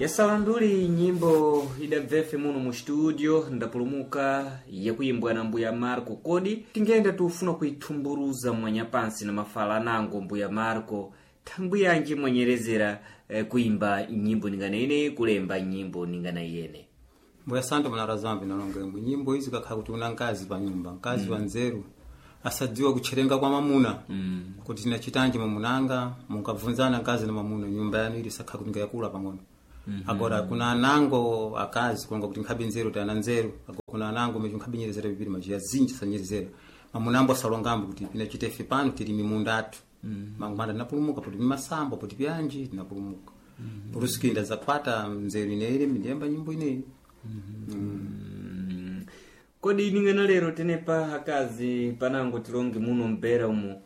Yasalanduli nyimbo idabvefe muno mu studio ndapulumuka yakuimbwa na mbuya Marco. Kodi tingenda tufuna kuithumburuza mwanyapansi na mafala anango mbuya Marco, thangwi yanji mwanyerezera kuimba nyimbo ningana ine, kulemba nyimbo ningana iyene? Mbuya Santo muna vinalonga nyimbo izi kakhala kuti una nkazi pa nyumba, nkazi wa nzeru asadziwa kutcherenga kwa mamuna kuti tinachitanji mamunanga, munkabvunzana nkazi na mamuna, nyumba yanu ili sakhala kuti ngayakula pang'ono. Agora kuna anango akazi kulonga kuti nkhabe nzeru tana nzeru, agora kuna anango mecho nkhabe nyerezera bibiri majiya zinji sanyerezera mamunambo asalongambo kuti pinachita ife pano tili mimunda athu mangumanda tinapulumuka poti pimasamba poti pianji tinapulumuka purusikinda zakwata nzeru ineyi ndiyemba nyimbo ineyi. Kodi ningana lero tenepa akazi panango tilonge muno mpera umu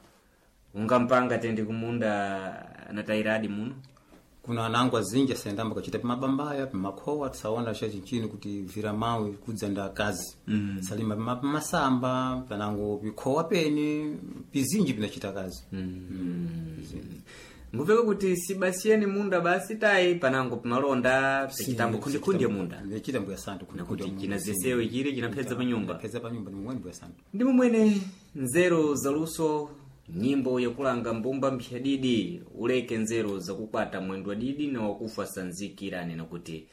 ungampanga tende kumunda na tairadi muno? Kuna anango azinji asayendamba kachita pimabambaya pimakhowa tisaona cha chinchini kuti vira mawe kudza nda akazi salima pimasamba panango pikhowa pene pizinji pinachita kazi. Ngupeka kuti sibasiyeni munda basi tayi panango pimalonda pichitambo khundikhundi ya munda. Ndachita mbuya Santo. Nakuti chinazesewe chili chinapedza pa nyumba. Peza pa nyumba ni mwene mbuya Santo. Ndi momwene nzeru zaluso nyimbo yakulanga mbumba mphyadidi uleke nzeru zakukwata mwendo wadidi na wakufa sanzikirane nakuti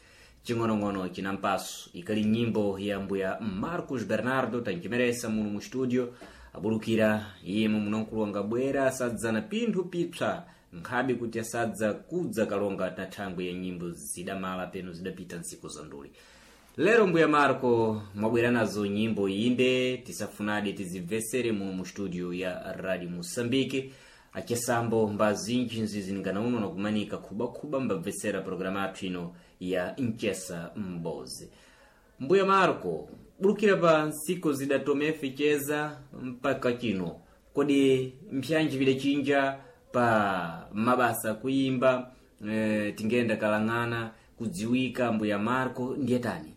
ching'onong'ono chinampaso. Ikali nyimbo ya mbuya Marcos Bernardo tanchimeresa muno mu studio abulukira iye munonkulu wangabwera asadza na pinthu pipsa nkhabe kuti asadza kudza kalonga na thangwi ya nyimbo zidamala peno zidapita ntsiku za nduli. Lero mbuya Marco mwabwera nazo nyimbo inde tisafunadi tizibvesere muno mu studio ya Radio Moçambique. Achesambo mbazinji nziziningana uno nakumanika khubakhuba mbabvesera programa athu ino ya Nchesa Mbozi. Mbuya Marco, bulukira pa ntsiku zidatomefe cheza mpaka chino, kodi mpyanji vidachinja pa mabasa kuimba, tingenda kalang'ana kudziwika mbuya Marco ndiye tani?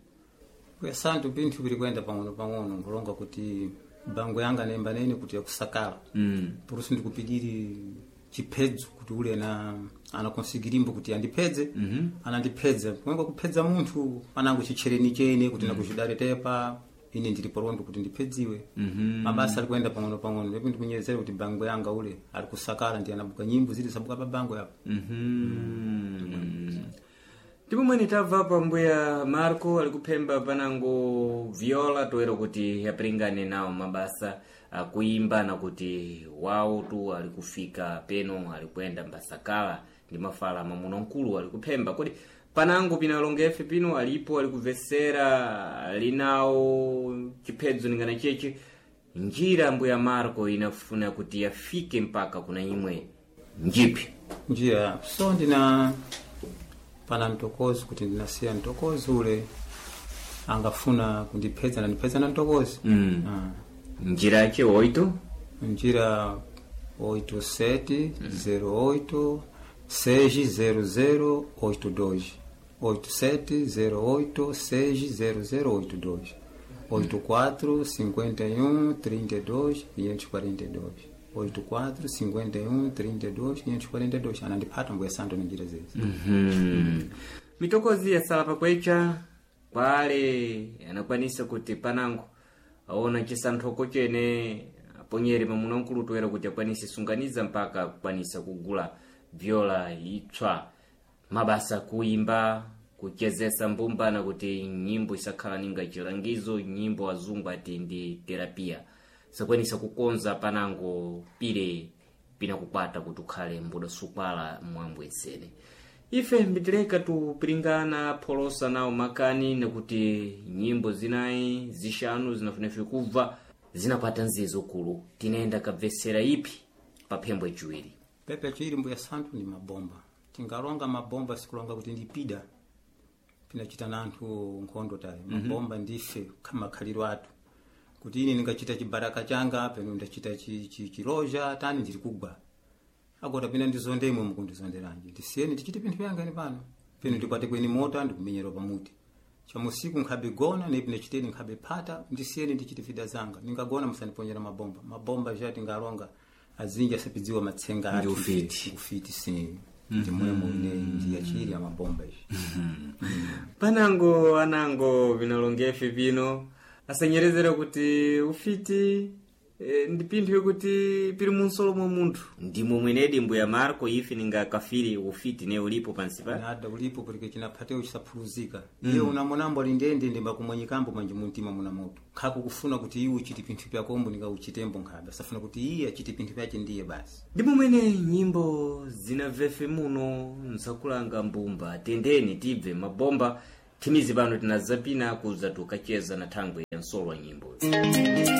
Mbuya Santo pinthu pili kuyenda pang'ono pang'ono nkulonga kuti bango yanga nemba nene kuti yakusakala purusi ndikupidiri chiphedzo kuti ule na anakonsigirimbo kuti andiphedze anandiphedza kuyenga kuphedza munthu panango chitchereni chene kuti nakuchidaretepa ine ndili polondo kuti ndiphedziwe. Mabasa ali kuyenda pang'ono pang'ono ndipo ndikunyerezera kuti bango yanga ule ali kusakala ndi anabuka nyimbo zili sabuka pa bango yapo. Ndipo mwene tabva pa mbuya Marco alikuphemba panango viola toero kuti apringane nawo mabasa akuimba na kuti wawo tu alikufika peno alikuyenda mbasakala ndi mafala mamuno mkulu alikuphemba. Kodi panango pinalongefe pino alipo alikuvesera alinawo chiphedzo ningana cheche njira mbuya Marco inafuna kuti afike mpaka kuna imwe njipi? Njira so ndina pana mtokozi kuti ndinasiya mtokozi ule angafuna kundiphedza nandipedza na mtokozi. Njira yake 8 Njira 87 08 600 82 87 08 600 82 84 51 32 542 84 51 32 542 anandipata mbuya Santo ni njira zezi. Mitokozi yasala pakwecha kwale anakwanisa kuti panango aona chisanthoko chene aponyere mamuna mkulu toera kuti akwanise sunganiza mpaka kukwanisa kugula viola itswa mabasa kuimba kuchezesa mbumba na kuti nyimbo isakhala ninga chilangizo nyimbo azungu ati ndi terapia sakwanisa kukonza panango pile pinakukwata kuti ukhale mbudasukwala mwambwetsene. Ife mbitileka tupiringana pholosa nawo makani nakuti nyimbo zinayi zixanu zinafunefe kubva zinapata nzezo kulu tinayenda kabvesera ipi pa phembo yaciwiri. Pepe yaciwiri mbuya Santo ndi mabomba. Tingalonga mabomba sikulonga kuti ndipida pinachita na anthu nkhondo tayi. Mabomba ndife makhaliro athu kuti ine ndingachita chibaraka changa peno ndachita chiloja tani ndiri kugwa agora pina ndizonde imwe mukundizonderanji ndisiyeni tichite pinthu pyanga ine pano peno ndikwate kweni mota ndikumenyera pamuti chamusiku nkhabe gona nepi ndachiteni nkhabe phata ndisiyeni ndichite vida zanga ningagona musandiponyera mabomba. Mabomba ja tingalonga azinji asapidziwa matsenga Ndi ufiti. ufiti si ndimwemo ine ndiyachiri. Kulira mabomba ivi. Panango anango vinalongefe vino asanyerezera kuti ufiti ndi pinthu yokuti pili munsolo mwa munthu, ndimo mwenedi mbuya Marco ife ninga kafiri ufiti ne ulipo pansi pa Nada ulipo porque chinaphatewo chisaphuluzika. Iye unamonambo ali ndende ndemba kumwanyikambo manje muntima muna moto nkhako kufuna kuti iwe uchite pinthu pyakombo ningauchitembo nkhabe asafuna kuti iye achite pinthu pyache ndiye basi. Ndimo mwene nyimbo zinamvefe muno nsakulanga mbumba. Tendeni tibve mabomba thimizi pano tinazapina kuza tukacheza na thangwe ya nsolo wa nyimbo.